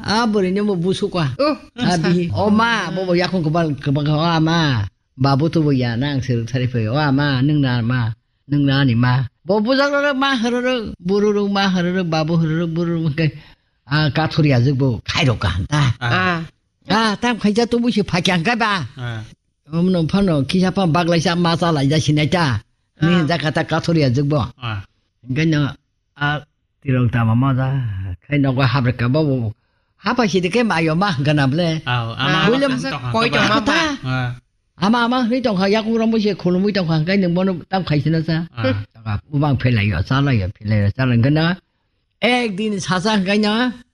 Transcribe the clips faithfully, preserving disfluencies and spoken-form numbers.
A bwrwini bo busuka. Oh, A sa. Bihi, "O ma, bo bo yakung kwbal kwbang kha, o ama. Babu to bo ya, nang se rwk thari phai, o ama, nwng na ma, nwng na ni ma." Bo bujak rwk ma hwrwk, buru rwk ma hwrwk, babu hwrwk, buru rwk khe, a kathori ajwk bo khairok ka hanta. Ah. Ah. Ah, tam khaija to busi phakya hwnkhe ba. Ah. Omno phano kisa pha baglaisa ma cha laija sinai ta. Ni Ah. Hinja kata kathori ajwk bo. Ah. Hwnkhe no a tirok tama ma ja khai nogo habre ka bo. Hapa sidi khe mayo ma hwnkha na ble. Ah, ama Ah. Builem koi tong kha. Koi tong ma ba. Ah. Ama ama hwnwi tong kha, yakung rombo se khulumwi tong kha, hwnkhe nwng bono tam khai sina sa. Ah. Tong kha, bumang phelaio, chalaio, phelaio, chala hwnkhe na. Ek din sasa hwnkhe na,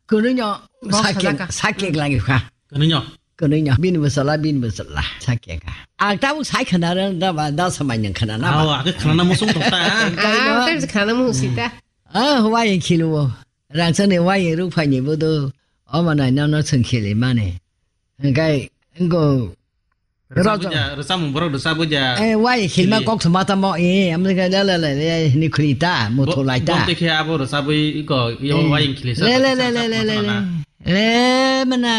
kwnwi no Bok sakeng, sajak kha. Sakeng lagi kha. Kwnwi no? Kwnwi no, bini bwsala, bini bwsala, sakeng kha. Ang tabuk sai khana rw, da ba, da samai nwng khana na ba. Aw, ake khana musung tong ta. Hwnkhe no. Ah, tei khana musung si ta. Ah, wayeng khiluo. Rangchakni wayeng rukphaini bodo. Omo nai nono chwng khilimani. Hwnkhe, wngkho. Rwchapwi Rojo. Ja, rwchapmung borok rwchapwi ja. Eh, wayeng khilma khili. Kok thwma tamo, eh, amni khe le, le, le, le, hini khuli ta, muthu Bo-, lai ta. Bo tei khe abo rwchapwi iko, yo Eh. Wayeng khili sa, Le, le, sa, le, sa, le, sa, le, sa, le, na. Le, mana,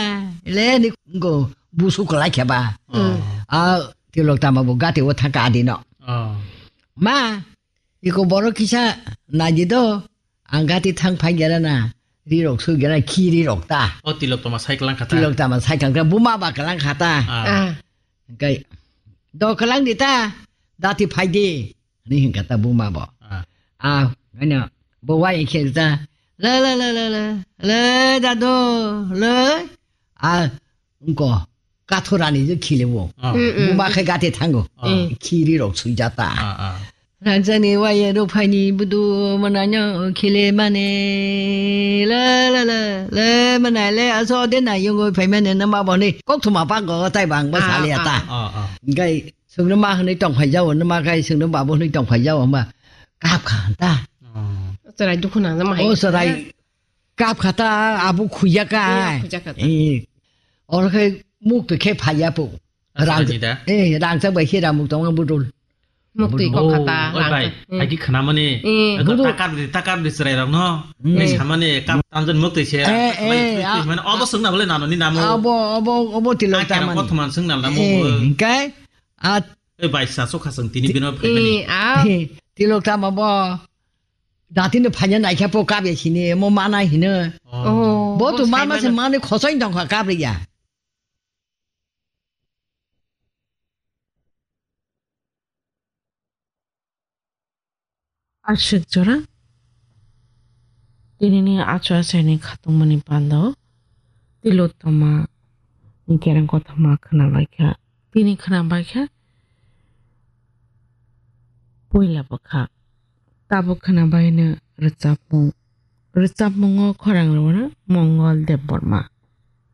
le, ni go, busu kwlai khe ba. Oh. Ah, tilok tama bo gati o thaka adi no. Oh. Ma, iko borok kisa naidi do, ang gati thang phai gera na, rirok sui gera, khi rirok ta. O tilok tama sai kwlang kha ta. Tilok tama sai kwlang kha, buma ba kwlang kha ta. Ah. Ah. Hwnkhe, "Do kwlang di ta, dati phai di," hwnwi hwnkha ta buma bo. Ah. Ah, ano, bo wai khe ta, "Le, le, le, le, le, le, dadu, le." Ah, wngko, kathorani je khilebo. Ah. Mm, mm. Buma khe gate thango. Ah. Mm. Khiri rok suijata. Ah, ah. Rangchakni wayeng rukphaini budu mananyo khile mane, le, le, le, le, manai le, aso de na yungo phaimane nama boni, kok thuma pa go tai bang ba Ah, sali ah. Ata. Ah, ah. Gai sungno ma hwnwi tongphai jao, nama gai sungno babu hwnwi tongphai jao, hwnba kap kha ta. Oh. Chwrai dukhu nang jama hai. O chwrai kap kha ta, abu khuya ka. Iya, khuya kha ta. Eh, oro khe muk to khe phaiya po. Rang, Aswkha ni da? Eh, rangchak bai khe ramuk tongo budul. Muktwi budul. Kok kha ta, oh, oi rang bai, kha. Hmm. Agi khana mani. Eh. Ego budul. Takar di, takar di chwrai rok no. Hmm. Ni samani kap tanjon muktwi se. Eh, eh, ah. Mane obo swngna bole nano ni namo. Obo, obo, obo tilok tamani. Kothoma swngna namo. Eh, hingkai, ah. Oi bai sa sokha swng tini bino phaimani. Eh, ah. Eh, tilok tama bo. Datino phaina naikha po kap ya sini, mo mana hino. Oh. Bo tu mama se mani khosoi dong kha kap ya. Aswk jora, tinini achu achaini khatungmani pando, tilotoma ni kereng kothoma khwnabaikha. Tini khwnabaikha, puila bwkha. Tabuk khwnabaino rwchapmung. Rwchapmungo khorang rwno Mongol Debbarma.